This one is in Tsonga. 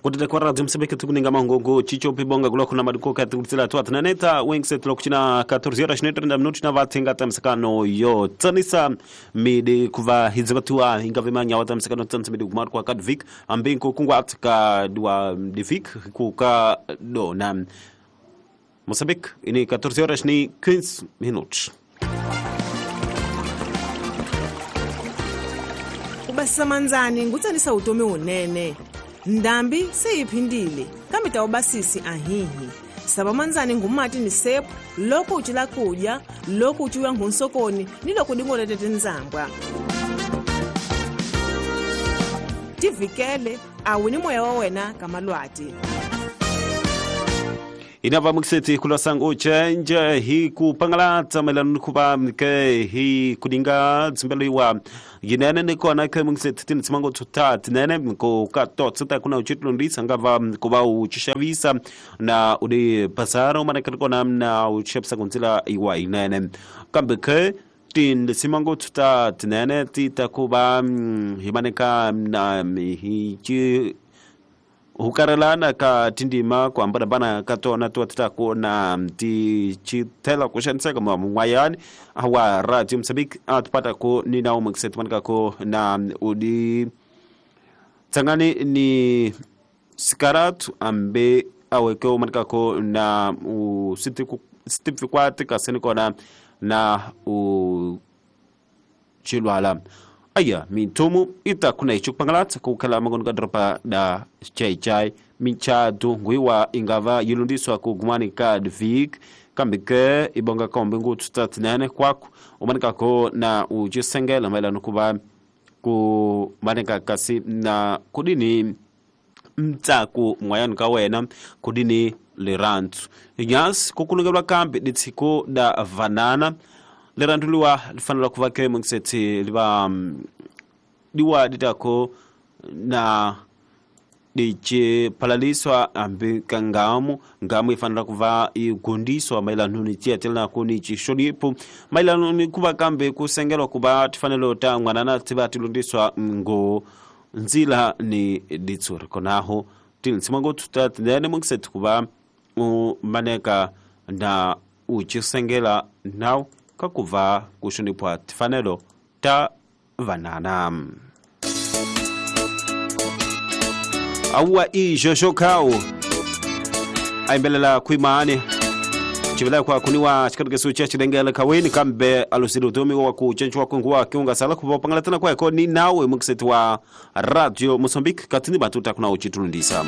Kutete kwa radio Msambiki tukuninga mangongo chicho pibonga gula kuna maduko kati tu atinaneta wengset lokuchina 14 horas 30 minutos na vatenga tamsakano yo tsanisa midi kuva hizivatua ingavimanya watamsakano tsanisa midi kumar kwa kadvik ambinko kungwa atka dua divik kuka dona Moçambique ini 14 horas ni 15 minutos. Ubasisa manzani ngutsanisa utomi unene. Ndambi seyiphindile kambe tawubasisi ahihi. Saba manzani ngumati ni sepu loko uchila kudya loko uchiwa ngunsokoni ni loko dingoletete nzambwa. Tivikele awini moya wa wena kamalwati. Inava mukiseti kula sangu chenje hi kupangalatsa maelana kuva ke hi kudinga tsimbelo iwa yinene ni kona ke mukiseti tini tsimango tuta tinene ko ka totsa kuna uchitulundisa ngava kuva uchishavisa na udi pasaro mana kona na uchepsa kunzila iwa inene kambe ke tin simango tuta tinene tita kuva himaneka na hi hukarelana ka tindima kuambana ka tona tuatita na ti chitela kushaniseka mwayani awa radio Msambiki atupata ko ni nao mksetu manika ko na udi tsangani ni sikaratu ambe aweke manika ko na u sitifikwati kaseni kona na u chilwala. Aya mintumu ita kuna ichupangalatsa kukhala magono kadropa da chai chai minchadu ngwiwa ingava yilundiswa kugumani ka dvik kambe ibonga kombe ngututatinene kwako umanika ko na ujisengela maelana kuba ku manika kasi na kudini mtsaku mwayani ka wena kudini lirantu nyas kukunukelwa kambe ditsiko da vanana lerantuliwa lifanela kuva ke mungseti liva diwa ditako na diche palaliswa ambi kangamu ngamu ifanela kuva igundiswa maelana ni tietela kuni chishonipo maelana ni kuva kambe kusengelwa kuva tifanelo ta ngwanana tiba tilundiswa ngo nzila ni ditsuri konaho tinsimango tutatene mungseti kuva maneka na uchisengela nao kakuva kushonipwa tifanelo ta vanana. Awa i Jojo Kao aimbelela kuimaane chivela kwa kuniwa chikarukesu cha chilengela kaweni kambe alusiri utomi wa kuchenchwa kunguwa kiunga sala kupopangala tena kwa ni nawe mukiseti wa Radio Mozambique katini batuta kuna uchitulundisa.